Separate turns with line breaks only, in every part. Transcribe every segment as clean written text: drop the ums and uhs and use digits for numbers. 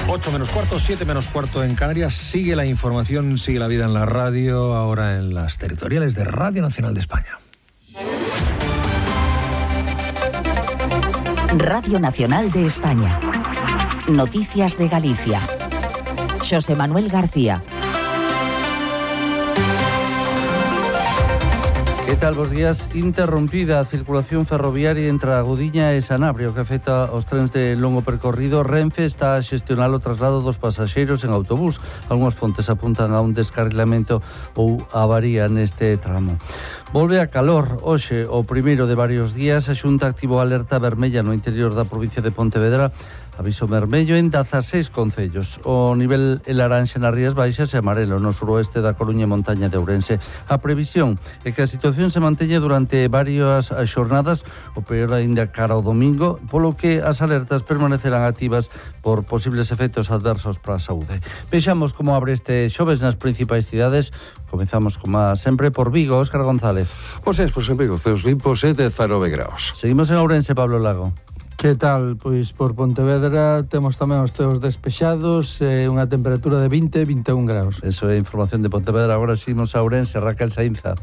8 menos cuarto, 7 menos cuarto en Canarias. Sigue la información, sigue la vida en la radio, ahora en las territoriales de Radio Nacional de España.
Radio Nacional de España. Noticias de Galicia. José Manuel García.
Que tal, bos días? Interrompida a circulación ferroviaria entre a Gudiña e Sanabria, o que afecta aos trens de longo percorrido. Renfe está a xestionar o traslado dos pasaxeiros en autobús. Algúnas fontes apuntan a un descarrilamento ou avaría neste tramo. Volve a calor. Hoxe, o primeiro de varios días, a Xunta activou alerta vermella no interior da provincia de Pontevedra. Aviso vermello en 16 concellos. O nivel en laranxa nas Rías Baixas e amarelo no suroeste da Coruña e montaña de Ourense. A previsión é que a situación se manteña durante varias xornadas, o peor aínda cara ao domingo, polo que as alertas permanecerán activas por posibles efectos adversos para a saúde. Vexamos como abre este xoves nas principais cidades. Comezamos, como sempre, por Vigo. Óscar González.
Pois en Vigo, ceos limpos e 19 graus.
Seguimos en Ourense, Pablo Lago.
Que tal? Pois por Pontevedra temos tamén os ceos despexados e unha temperatura de 20-21 graus.
Eso é información de Pontevedra. Agora seguimos a Ourense, Raquel Sainza.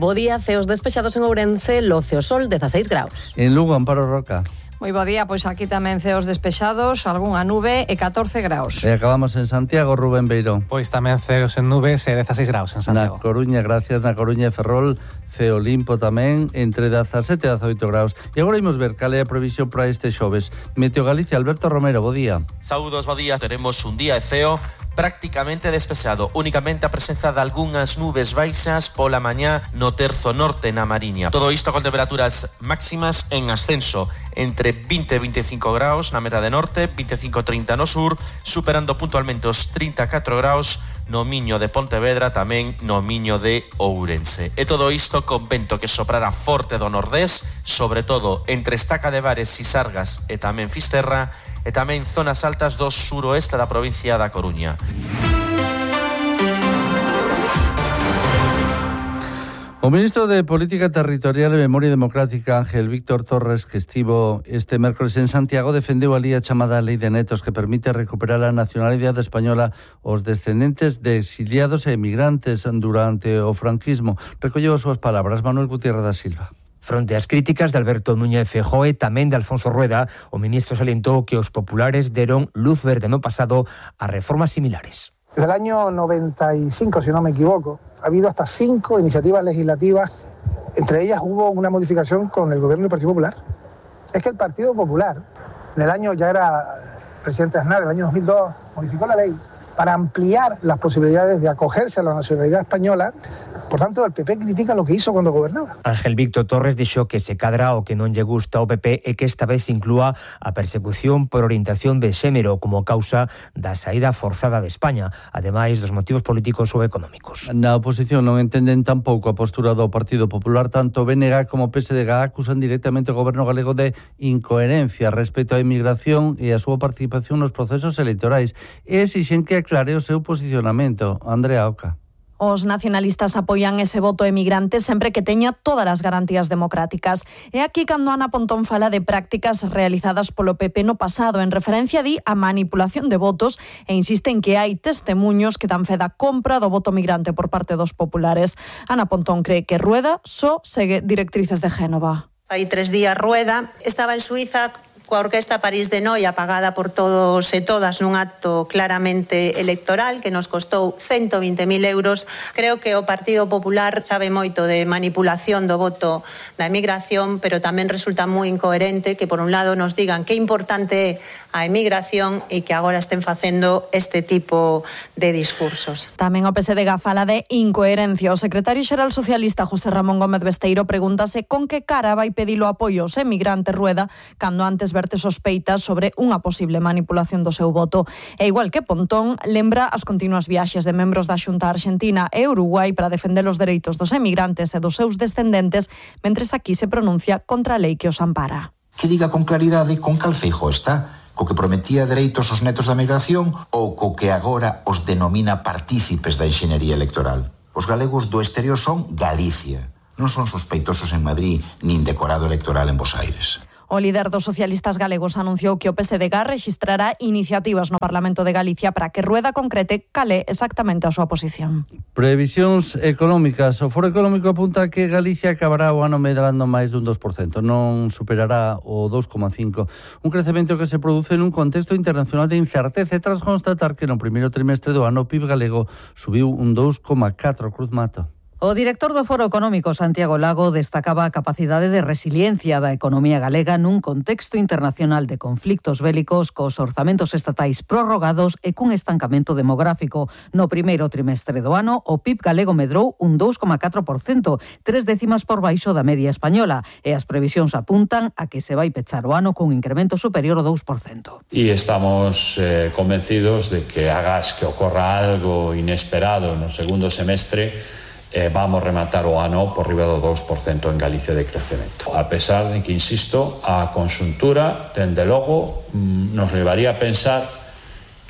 Bo día, ceos despexados en Ourense, Loce o Sol, 16 graus.
En Lugo, Amparo Roca.
Moi bo día, pois aquí tamén ceos despexados, algunha nube e 14 graus.
E acabamos en Santiago, Rubén Beirón.
Pois tamén ceos en nubes e 16 graus en Santiago.
Na Coruña, gracias, na Coruña e Ferrol, ceo limpo tamén, entre 17 e 18 graus. E agora imos ver cal é a previsión para este xoves. Meteo Galicia, Alberto Romero, bo día.
Saúdos, bo día. Teremos un día de ceo prácticamente despexado, únicamente a presenza de algunhas nubes baixas pola mañá no terzo norte na Mariña. Todo isto con temperaturas máximas en ascenso, entre 20 e 25 graus na metade norte, 25-30 no sur, superando puntualmente os 34 graus no Miño de Pontevedra, tamén no Miño de Ourense. E todo isto con vento que soprará forte do nordés, sobre todo entre Estaca de Bares, Sisargas e tamén Fisterra, e tamén zonas altas do suroeste da provincia da Coruña.
O ministro de Política Territorial e Memoria Democrática, Ángel Víctor Torres, que estivo este mércoles en Santiago, defendeu ali a chamada Lei de Netos, que permite recuperar a nacionalidade española aos descendentes de exiliados e emigrantes durante o franquismo. Recolleu as súas palabras Manuel Gutiérrez da Silva.
Fronte ás críticas de Alberto Núñez Feijóo e tamén de Alfonso Rueda, o ministro salientou que os populares deron luz verde no pasado a reformas similares.
Desde el año 95, si no me equivoco, ha habido hasta 5 iniciativas legislativas. Entre ellas hubo una modificación con el gobierno del Partido Popular. Es que el Partido Popular, en el año, ya era presidente Aznar, en el año 2002, modificó la ley para ampliar las posibilidades de acogerse a la nacionalidad española. Por tanto, el PP critica lo que hizo cuando gobernaba.
Ángel Víctor Torres dixo que se cadra o que non lle gusta ao PP e que esta vez inclúa a persecución por orientación de xénero como causa da saída forzada de España, ademais dos motivos políticos ou económicos.
Na oposición non entenden tampouco a postura do Partido Popular. Tanto BNG como PSDG acusan directamente o goberno galego de incoherencia respecto á inmigración e a súa participación nos procesos electorais e exixen que aclare o seu posicionamento. Andrea Oca.
Os nacionalistas apoian ese voto emigrante sempre que teña todas as garantías democráticas. E aquí cando Ana Pontón fala de prácticas realizadas polo PP no pasado en referencia a manipulación de votos e insiste en que hai testemuños que dan fe da compra do voto migrante por parte dos populares. Ana Pontón cree que Rueda só segue directrices de Génova.
Hai 3 días Rueda estaba en Suiza coa Orquesta París de Noia pagada por todos e todas nun acto claramente electoral que nos costou 120.000 euros. Creo que o Partido Popular sabe moito de manipulación do voto da emigración, pero tamén resulta moi incoherente que por un lado nos digan que importante é a emigración e que agora estén facendo este tipo de discursos.
Tamén o PSDG fala de incoherencia. O secretario xeral socialista José Ramón Gómez Besteiro pregúntase con que cara vai pedilo apoio aos emigrantes Rueda cando antes verte sospeitas sobre unha posible manipulación do seu voto. E igual que Pontón, lembra as continuas viaxes de membros da Xunta Argentina e Uruguai para defender os dereitos dos emigrantes e dos seus descendentes, mentres aquí se pronuncia contra a lei que os ampara.
Que diga con claridade con cal Feijóo está, co que prometía dereitos aos netos da migración ou co que agora os denomina partícipes da enxeñería electoral. Os galegos do exterior son Galicia, non son sospeitosos en Madrid nin decorado electoral en Bos Aires.
O líder dos socialistas galegos anunciou que o PSDG rexistrará iniciativas no Parlamento de Galicia para que Rueda concrete cal é exactamente a súa posición.
Previsións económicas. O Foro Económico apunta que Galicia acabará o ano medrando máis dun 2%, non superará o 2,5%. Un crecemento que se produce nun contexto internacional de incerteza tras constatar que no primeiro trimestre do ano o PIB galego subiu un 2,4%. Cruz Mato.
O director do Foro Económico, Santiago Lago, destacaba a capacidade de resiliencia da economía galega nun contexto internacional de conflictos bélicos, cos orzamentos estatais prorrogados e cun estancamento demográfico. No primeiro trimestre do ano, o PIB galego medrou un 2,4%, 3 décimas por baixo da media española, e as previsións apuntan a que se vai pechar o ano cun incremento superior ao 2%.
E estamos convencidos de que agás que ocorra algo inesperado no segundo semestre, vamos rematar o ano por riba do 2% en Galicia de crecemento. A pesar de que, insisto, a conxuntura, dende logo, nos levaría a pensar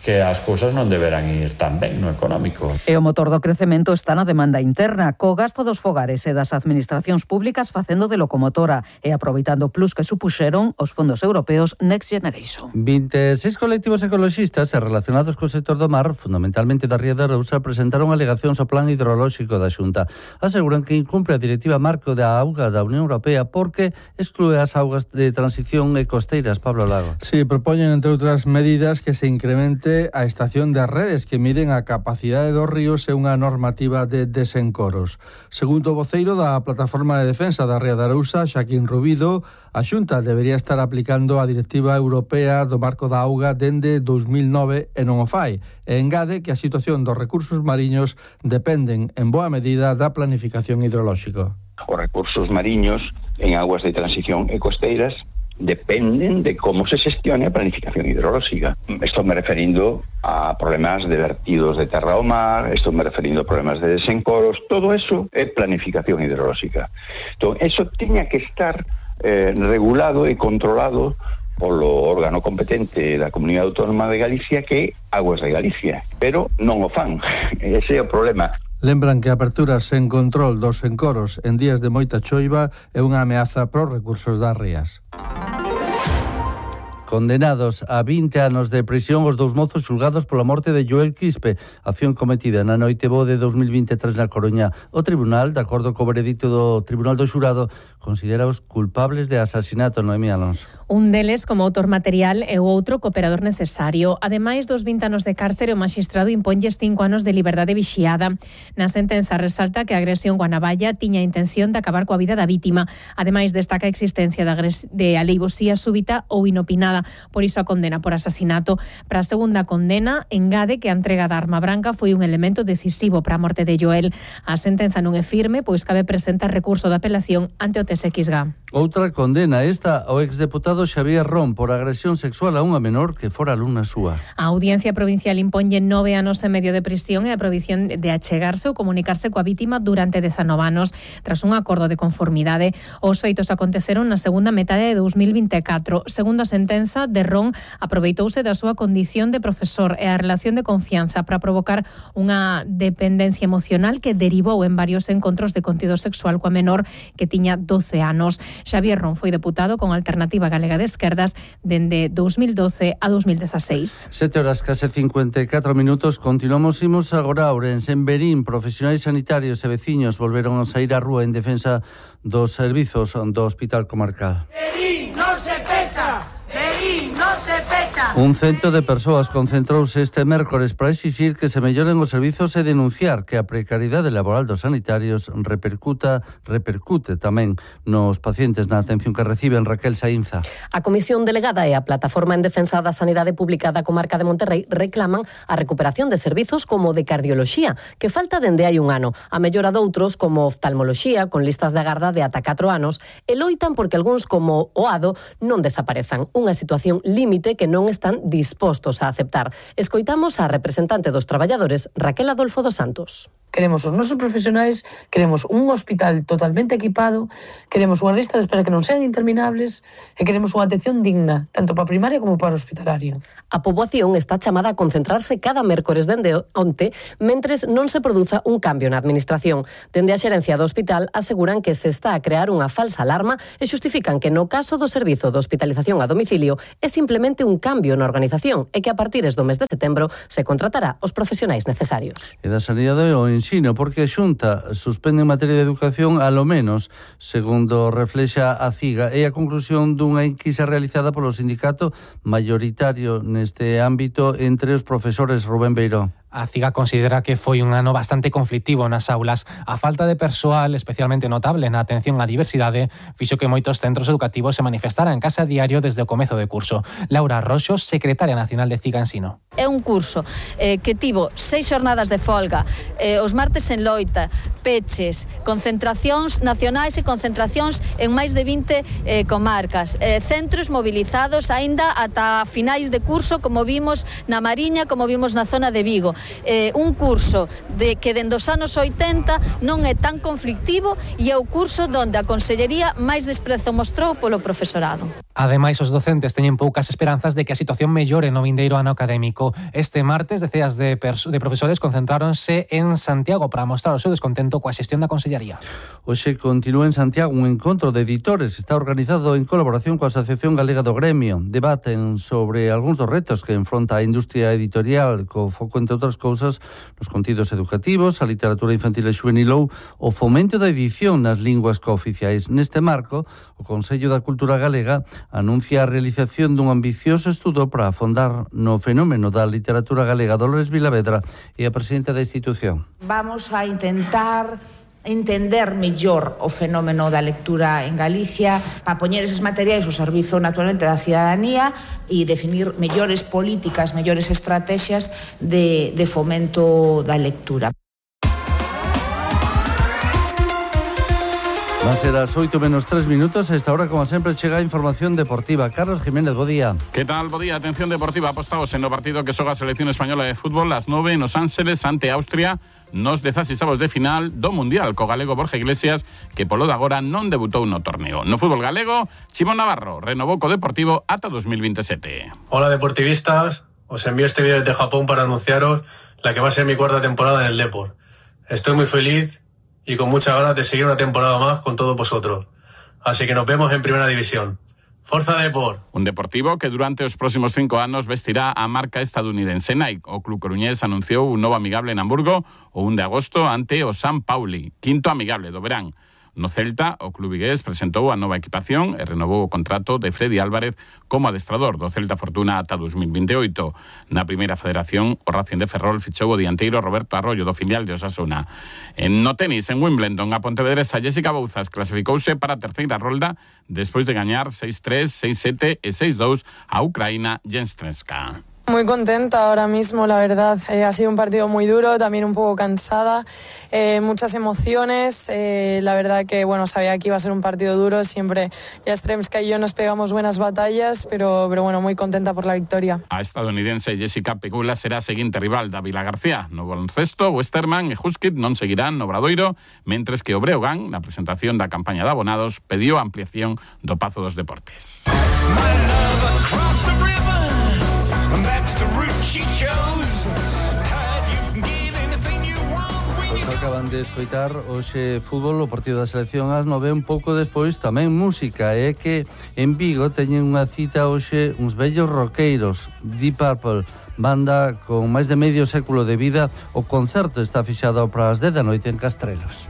que as cousas non deberán ir tan ben no económico.
E o motor do crecemento está na demanda interna, co gasto dos fogares e das administracións públicas facendo de locomotora e aproveitando o plus que supuxeron os fondos europeos Next Generation.
26 colectivos ecoloxistas relacionados co sector do mar, fundamentalmente da Ría de Arousa, presentaron alegacións ao plan hidrolóxico da Xunta. Aseguran que incumpre a Directiva Marco da Auga da Unión Europea porque exclúe as augas de transición e costeiras. Pablo Lago.
Sí, propoñen, entre outras medidas, que se incremente a estación de redes que miden a capacidade dos ríos e unha normativa de desencoros. Segundo o voceiro da Plataforma de Defensa da Ría de Arousa, Xaquín Rubido, a Xunta debería estar aplicando a Directiva Europea do Marco da Auga dende 2009 e non o fai. E engade que a situación dos recursos mariños dependen en boa medida da planificación hidrolóxica.
Os recursos mariños en aguas de transición e costeiras dependen de cómo se xestione a planificación hidrolóxica. Estou me referindo a problemas de vertidos de terra ao mar, estou me referindo a problemas de desencoros, todo eso é planificación hidrolóxica. Entón, eso tiña que estar regulado e controlado polo órgano competente da Comunidade Autónoma de Galicia, que é Aguas de Galicia, pero non o fan. Ese é o problema.
Lembran que a apertura sen control dos encoros en días de moita choiva é unha ameaza pros recursos das rías.
Condenados a 20 anos de prisión os dous mozos xulgados pola morte de Joel Quispe, acción cometida na noite bo de 2023 na Coruña. O tribunal, de acordo co veredicto do Tribunal do Xurado, considera os culpables de asasinato. Noemí Alonso.
Un deles como autor material e o outro cooperador necesario. Ademais dos 20 anos de cárcere, o magistrado imponlles 5 anos de liberdade vixiada. Na sentenza resalta que a agresión coa navalla tiña a intención de acabar coa vida da vítima. Ademais destaca a existencia de aleivosía súbita ou inopinada. Por iso a condena por asasinato. Para a segunda condena, engade que a entrega da arma branca foi un elemento decisivo para a morte de Joel. A sentenza non é firme, pois cabe presentar recurso de apelación ante o TSXG.
Outra condena, esta ao exdeputado Xavier Ron por agresión sexual a unha menor que fora alumna súa.
A Audiencia Provincial imponlle 9 anos e medio de prisión e a prohibición de achegarse ou comunicarse coa vítima durante 19 anos. Tras un acordo de conformidade, os feitos aconteceron na segunda metade de 2024. Segundo a sentenza, de Ron, aproveitouse da súa condición de profesor e a relación de confianza para provocar unha dependencia emocional que derivou en varios encontros de contido sexual coa menor que tiña 12 anos. Xavier Ron foi deputado con Alternativa Galega de Esquerdas dende 2012 a 2016.
7 horas, case 54 minutos. Continuamos, imos agora a Ourense. En Verín, profesionais sanitarios e veciños volveron a sair á rúa en defensa dos servizos do Hospital Comarcal.
Verín non se pecha! Verín non se pecha!
Un cento de persoas concentrouse este mércores para exixir que se melloren os servizos e denunciar que a precariedade laboral dos sanitarios repercute tamén nos pacientes na atención que reciben. Raquel Saínza.
A Comisión Delegada e a Plataforma en Defensa da Sanidade Pública da Comarca de Monterrei reclaman a recuperación de servizos como de cardioloxía, que falta dende hai un ano, a mellora doutros como oftalmoloxía, con listas de agarda de ata 4 anos, e loitan porque algúns como o ADO non desaparezan. Unha situación límite que non están dispostos a aceptar. Escoitamos a representante dos traballadores, Raquel Adolfo dos Santos.
Queremos os nosos profesionais, queremos un hospital totalmente equipado, queremos unhas listas de espera que non sean interminables e queremos unha atención digna, tanto para a primaria como para o hospitalario.
A poboación está chamada a concentrarse cada mércores dende onte, mentres non se produza un cambio na administración. Dende a xerencia do hospital aseguran que se está a crear unha falsa alarma e xustifican que no caso do servizo de hospitalización a domicilio é simplemente un cambio na organización e que a partires do mes de setembro se contratará os profesionais necesarios.
E da sanidade o ensino, porque a Xunta suspende en materia de educación alo menos, segundo reflexa a CIGA, e a conclusión dunha enquisa realizada polo sindicato maioritario neste ámbito entre os profesores. Rubén Beiró.
A CIGA considera que foi un ano bastante conflictivo nas aulas. A falta de persoal, especialmente notable na atención á diversidade, fixo que moitos centros educativos se manifestaran en casa a diario desde o comezo de curso. Laura Roxo, secretaria nacional de CIGA Ensino.
É un curso que tivo 6 xornadas de folga, os martes en loita, peches, concentracións nacionais e concentracións en máis de 20 comarcas, centros mobilizados aínda ata finais de curso, como vimos na Mariña, como vimos na zona de Vigo. Un curso que dende os anos 80 non é tan conflictivo e é o curso donde a Consellería máis desprezo mostrou polo profesorado.
Ademais, os docentes teñen poucas esperanzas de que a situación mellore no vindeiro ano académico. Este martes, deceas de profesores concentráronse en Santiago para mostrar o seu descontento coa xestión da Consellería.
Hoxe continúa en Santiago un encontro de editores. Está organizado en colaboración coa Asociación Galega do Gremio. Debaten sobre algúns dos retos que enfronta a industria editorial, co foco, entre outras cousas, nos contidos educativos, a literatura infantil e xuvenil, o fomento da edición nas linguas cooficiais. Neste marco, o Consello da Cultura Galega anuncia a realización dun ambicioso estudo para afondar no fenómeno da literatura galega. Dolores Vilavedra é a presidenta da institución.
Vamos a intentar entender mellor o fenómeno da lectura en Galicia para poñer eses materiais ao servizo naturalmente da cidadanía e definir mellores políticas, mellores estrategias de fomento da lectura.
Van ser as 8 menos 3 minutos. A esta hora, como sempre, chega a información deportiva. Carlos Jiménez, bo día.
Que tal, bo día? Atención deportiva, apostados en o partido que xoga a selección española de fútbol las 9 en Los Ángeles ante Austria nos 16avos de final do Mundial co galego Borja Iglesias, que polo de agora non debutou no torneo. No fútbol galego, Chimón Navarro renovou co Deportivo ata 2027.
Hola deportivistas, os envío este vídeo desde Japón para anunciaros la que va a ser mi cuarta temporada en el Depor. Estoy muy feliz y con muchas ganas de seguir una temporada más con todos vosotros. Así que nos vemos en Primera División. Forza Depor.
Un Deportivo que durante os próximos 5 anos vestirá a marca estadounidense Nike. O club coruñés anunciou un novo amigable en Hamburgo o 1 de agosto ante o San Pauli, quinto amigable do verán. No Celta, o club vigués presentou a nova equipación e renovou o contrato de Freddy Álvarez como adestrador do Celta Fortuna ata 2028. Na primeira federación, o Racing de Ferrol fichou o dianteiro Roberto Arroyo do filial de Osasuna. No tenis, en Wimbledon, a pontevedresa Jessica Bouzas clasificouse para a terceira rolda despois de gañar 6-3, 6-7 e 6-2 a Ucraína Jenstrenska.
Muy contenta ahora mismo, la verdad. Ha sido un partido muy duro, también un poco cansada, muchas emociones. La verdad que, bueno, sabía que iba a ser un partido duro. Siempre Jastremska y yo nos pegamos buenas batallas, pero bueno, muy contenta por la victoria.
A estadounidense Jessica Pegula será a seguinte rival da Vila García. No baloncesto, Westerman e Huskit non seguirán no Obradoiro, mentres que o Breogán, na presentación da campaña de abonados, pediu a ampliación do Pazo dos Deportes.
Pois acaban de escoitar hoxe fútbol, o partido da selección ás 9, un pouco despois tamén música. É que en Vigo teñen unha cita hoxe uns vellos roqueiros, Deep Purple, banda con máis de medio século de vida. O concerto está fixado para as 10 da noite en Castrelos.